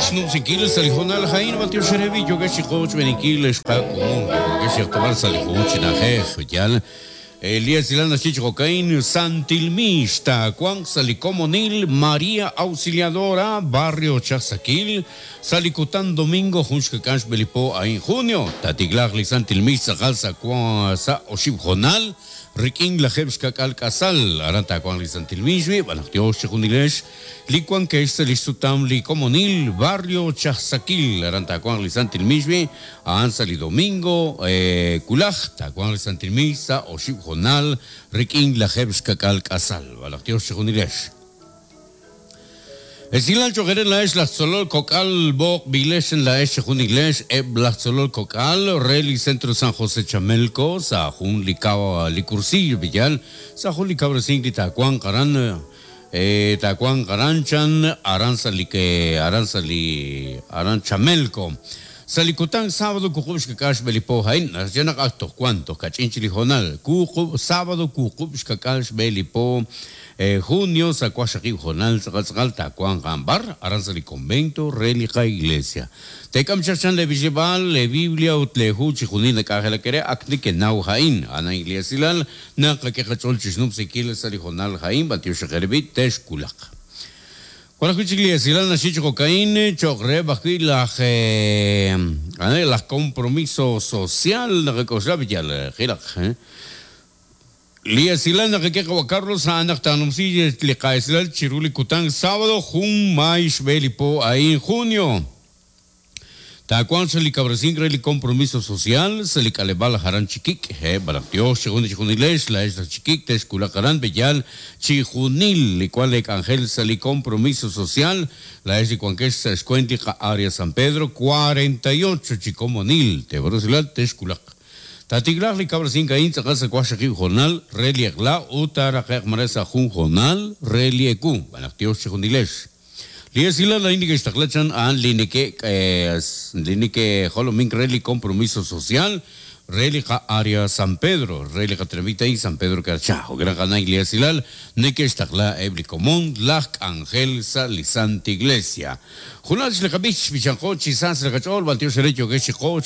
xnumsinkil sa' li hoonal a'in b'antiox re b'i yookex chi qochb'eeninkil xqakomon yookex chi qtawb'al sa' li jun chi na'ajej yaal li esilal naxye chi jo'ka'in Santil Mix taawanq sa' li komonil Maria Auxiliadora Barrio Chajsakil sa' li kutan domingo jun xkak'al xb'e li po a'in junio taatiklaaq li Santil Mix tz'aqal sa' sa' oxib' hoonal Rik'in lajeeb' xka'k'aal k'asal, aran taawanq li Santil Mixwi, b'an naq yoox chejunilex li wankex sa' li xsutam li komonil Barrio Chajsakil, aran taawanq li Santil Mixwi, a'an sa' li domingo wulaj, taawanq li Santil Mix sa' oxib' hoonal rik'in lajeeb' xka'k'aal k'asal, b'an naq yoox chejunilex. Esilal cho'q eere laa'ex laj tzolol kok'al b'oqb'ilex laa'ex chejunilex eb' laj tzolol kok'al re li Centro San José Chamelco sa' jun li kaw li cursillo b'iyal sa' jun li kawresink li taawanq aran taawanq aran chan aran sa' li aran sa' li aran Chamelco sa' li kutan sábado wuqub' xkak'al xb'e li po a'in naxye naq ak toj wan toj kach'in chik li hoonal wuqub' sábado wuqub' xkak'al xb'e li po Junio sa' waqxaqib' hoonal tz'aqal tz'aqal taawanq a'an b'ar, aran sa' li convento re li qaiglesia. Teek'am chaq chan lee b'ichleb'aal, lee Biblia ut lee hu chijunil nak'anjelak eere ak nekenaw a'in. A'an a'in li esilal naqak'e qach'ool chixnumsinkil sa' li hoonal a'in, b'antiox eere b'i' texwulaq. Wan ajwi' chik li esilal naxye chi jo'ka'in cho'q reheb' ajwi' laj laj compromiso social naqak'oxla b'i yal qilaq. Li esilal naqak'e qawa' Carlos a'an naq taanumsi li qa'esilal chiru li kutan sábado jun maay xb'e li po a'in junio. Taawanq sa' li kawresink re li compromiso social sa' li k'aleb'aal aran Chikik'. He, b'alaq Dios chejun chijunilex laa'ex laj Chikik' texwulaq aran b'eyal chijunil li wan lee k'anjel sa' li compromiso social laa'ex li wankex sa' xkwent li qa-Area San Pedro 48 chi komonil teeb'arusilal texwulaq. Taatiklaaq li kawresink a'in tz'aqal sa' waqxaqib' hoonal re li eq'la ut taaraqe'q mare sa' jun hoonal re li ewu, xb'aan naq Yos chejunilex. Li esilal a'in neke'xtaqla chan a'an li neke' li neke'jolomink re li compromiso social re li qa-Area San Pedro, re li qatenamit a'in San Pedro Carchá. Jo'kan naq a'an a'in li esilal neke'xtaqla eb' li komon laj k'anjel sa' li Santa Iglesia. Junal li qab'ich, b'ichanqo chi sa sa' li qach'ool, b'antiox re yookex chi qo.